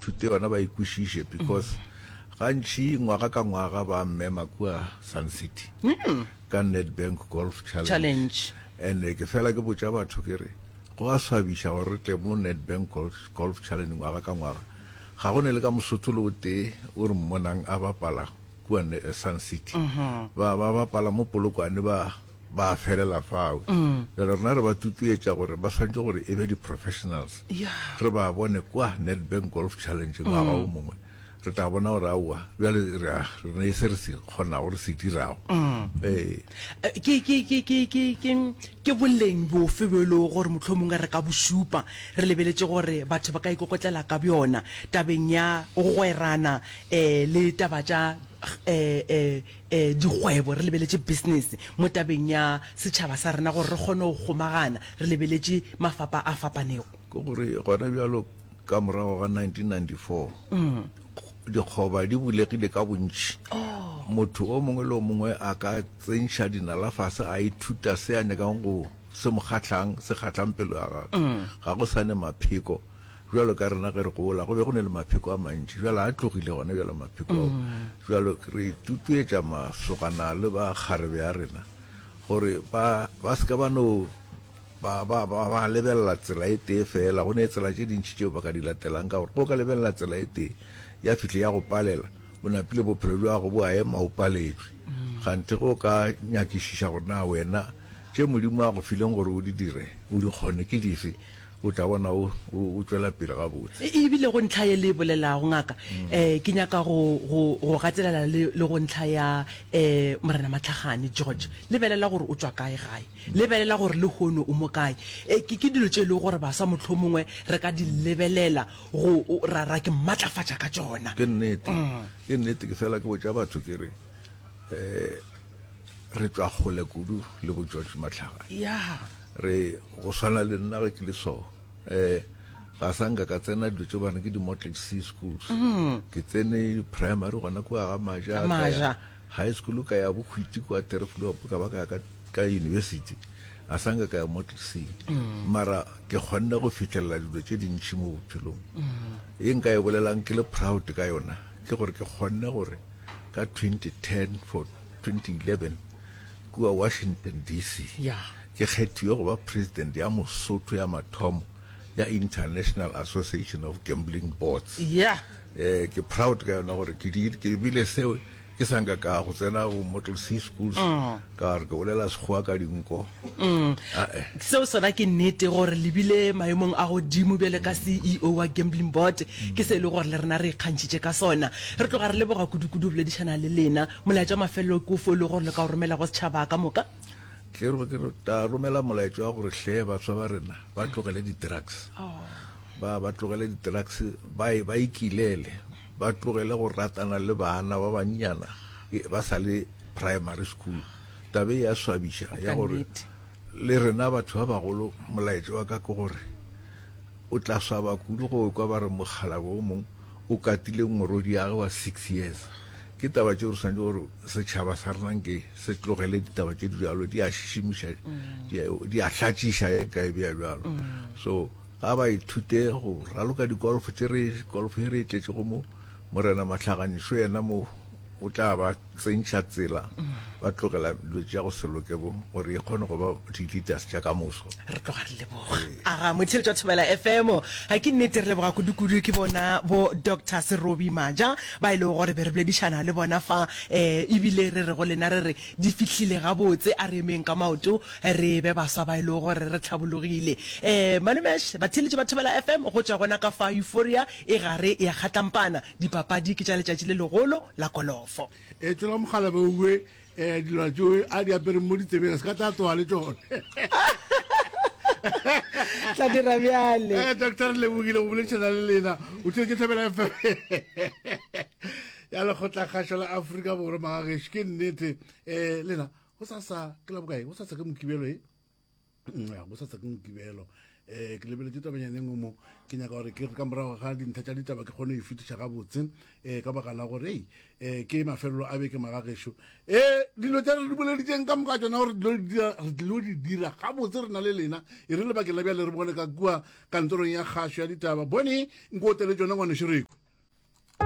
ithute yona ba e kwešiše because gantši ngwaga ka ngwaga ba mmema kua Sun City ka Nedbank Golf Challenge. Challenge. And ke fela ke botša batho ke re go a swabiša gore re tle mo Nedbank Golf, Golf Challenge ngwaga ka ngwaga ga go ne le ka Mosotho le o tee o re mmonang a bapala kua Sun City. Ba ba bapala mo Polokwane ba ba felela fao. Bjale rena re ba tutuetša gore ba swanetše gore e be di-professionals. Re ba bone kwa Nedbank Golf Challenge ngwaga o mongwe. Re tla bona gore aowa, bjale re a, re ne se re se kgonago, re se dirago. Ee. Ke, ke, ke, ke, ke, ke, ke boleng bofe bjo e lego gore mohlomongwe re ka bo šupa re lebeletše gore batho ba ka ikokotlela ka bjona tabeng ya go gwerana um le taba tša um um um dikgwebo, re lebeletše business mo tabeng ya setšhaba sa rena gore re kgone go kgomagana re lebeletše mafapa a fapanego? Ke gore gona bjalo ka morago ga 1994 dikgoba di bulegile ka bontši. Motho o mongwe le o mongwe a ka tsentšha dinala fase a ithuta se a nyakang go se mo kgahlang, se kgahlang pelo ya gagwe. Ga go sa ne mapheko bjalo ka rena ge re gola, go be go ne le mapheko a mantši. Bjale a tlogile gona bjalo mapheko ao. Bjalo re tutuetša masogana le bakgarebe ya rena gore ba ba se ka ba no Ba, ba, ba, ba lebelela tsela e tee feela. Go ne tsela tše dintši tšeo ba ka di latelang, ka gore ge o ka lebelela tsela e tee, ya fihle ya go palela, o napile bophelo bja gago bo a ema, o paletšwe. Kganthe ge o ka nyakišiša gore na wena tše Modimo a go fileng gore o di dire, o di kgone, ke dife, o tla bona o, o, o tšwela pele gabotse. E bile go ntlha ye le e bolelago, ngaka, um ke nyaka go, go, go gatelela le, le go ntlha ya um Morena Matlhagane, George. Lebelela gore o tšwa kae gae. Lebelela gore lehono o mo kae. E, ke, ke dilo tše e lego gore baswa mohlomongwe re ka di lebelela go, ra, ra ke matlafatša ka tšona. Ke nnete. Ke nnete. Ke fela ke botša batho ke re, um re tšwa kgole kudu le bo George Matlhagane. Ya. Re, go swana le nna ge ke le so, um ga sa nka ka tsena dilo tše ba reng ke di-Motley C schools. Ke tsene primary gona kua ga Maja. Ga Maja. High school ka ya Bohwiti kua Tereflop ka ba ka ya ka, ka university a sa nka ka ya Mottlesea mara ke kgonne go fihlelela dilo tše dintši mo bophelong. Ye nka e bolelang ke le proud ka yona ke gore ke kgonne gore ka 2010 for 2011 kua Washington DC Yeah. ke kgethiwe go ba president ya Mosotho ya mathomo ya International Association of Gambling Boards. Yeah. Eh, ke proud ka yona gore ke di, ke bile seo ke sa nka ka go tsena go Model C schools ka re ke bolela Sekgowa ka dinko. Ae. Seo sona ke nnete gore le bile maemong a godimo bjale ka CEO wa Gambling Board ke se e le gore le rena re ikgantšhitše ka sona. Re tloga re leboga kudu-kudu go boledišana le lena. Molaetša wa mafelelo ke ofe o le gore le ka o romela go setšhaba ka moka? Ke re ke tla romela molaetša wa gore hle baswa ba rena ba tlogele di-drugs. Ba ba tlogele di-drugs, ba ba ikilele, ba tlogele go ratana le bana ba bannyana ba sa le primary school. Taba e ya swabiša ya gore le rena batho ba bagolo, molaetša wa ka ke gore o tla swaba kudu go kwa ba re mokgalabje o mongwe o katile morwediagwe wa six years. Ke taba tšeo re swanetše gore setšhaba sa rena nke se tlogele ditaba tše di bjalo, di a šišimiša, di a hlatšiša e ka e bea bjalo. So ga ba ithute go raloka dikolfo tše re, kolfo e re e tletšego mo, Morena Mahlaganišo yena mo o tla ba tsentšha tsela, ba tlogela dilo tša go se loke bo, gore e kgone go ba di-leaders tša ka moso. Re tloga re leboga. Aga, motheeletši wa Thobela FM, ga ke nnete re leboga kudu-kudu ke bona bo Doctor Serobi Maja ba e lego gore be re boledišana le bona fa, um ebile re re go lena re re di fihlile gabotse, a re emeng ka maoto re be baswa ba e lego gore re hlabologile. Um Malomesh, batheeletši ba Thobela FM, go tšwa gona ka fa Euphoria e gare ya kgatlampana, Dipapadi ke tša letšatši le legolo la kolofo. E tšwela mogala be uwe eh, dilwana tšeo a di apereng mo ditsebeng a se ka tla tloga le tšone. Tla dira bjale. Eh, doctor re lebogile go boledišana le lena o tšwetše Thobela FM ya lekgotlakgašo la Afrika Borwa magagešo ke nnete um lena go sasa ke la bokae go sasa ke mokibelo e Ya, go sasa ke mokibelo um ke lebeletše tabanyana e nngwe mo ke nyaka gore ke re ka morago ga dintlha tša ditaba ke kgone go e fetiša gabotse um ka baka la gore ei um ke mafelelo a beke magagešo um dilo tša re di boleditseng ka moka tšona gore re dilo di dira gabotse re na le lena e re lebakeng la bjale re bone ka kua kantorong ya kgašo ya ditaba bone nko otele tšona ngwaneso reko.